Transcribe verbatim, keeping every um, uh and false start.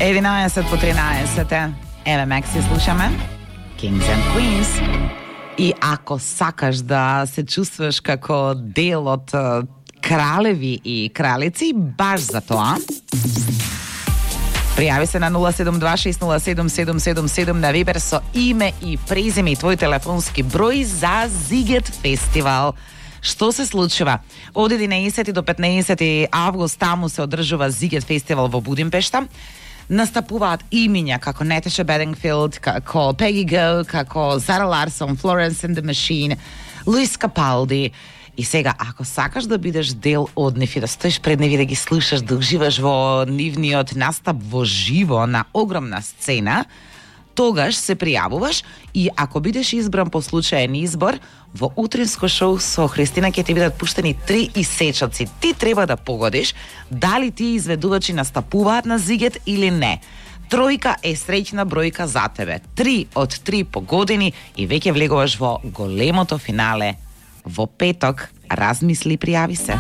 единаесет по тринаесет. Еве Мекси слушаме. Kings and Queens. И ако сакаш да се чувствуваш како дел од кралеви и кралици, баш за тоа, пријави се на нула седум два шест нула седум седум седум седум на Вибер со име и презиме и твој телефонски број за Зигет фестивал. Што се случува? Од единаесети до петнаесети август таму се одржува Зигет фестивал во Будимпешта. Настапуваат имиња како Неташа Бедингфилд, како Пеги Го, како Зара Ларсон, Florence and the Machine, Луис Капалди. И сега, ако сакаш да бидеш дел од нив и да стоиш пред нив и да ги слушаш, да уживаш во нивниот настап во живо на огромна сцена, тогаш се пријавуваш и ако бидеш избран по случаен избор, во утринско шоу со Христина ќе ти бидат пуштени три исечоци. Ти треба да погодиш дали тие изведувачи настапуваат на Зигет или не. Тројка е среќна бројка за тебе. Три од три погодени и веќе влегуваш во големото финале. Во петок, размисли, пријави се.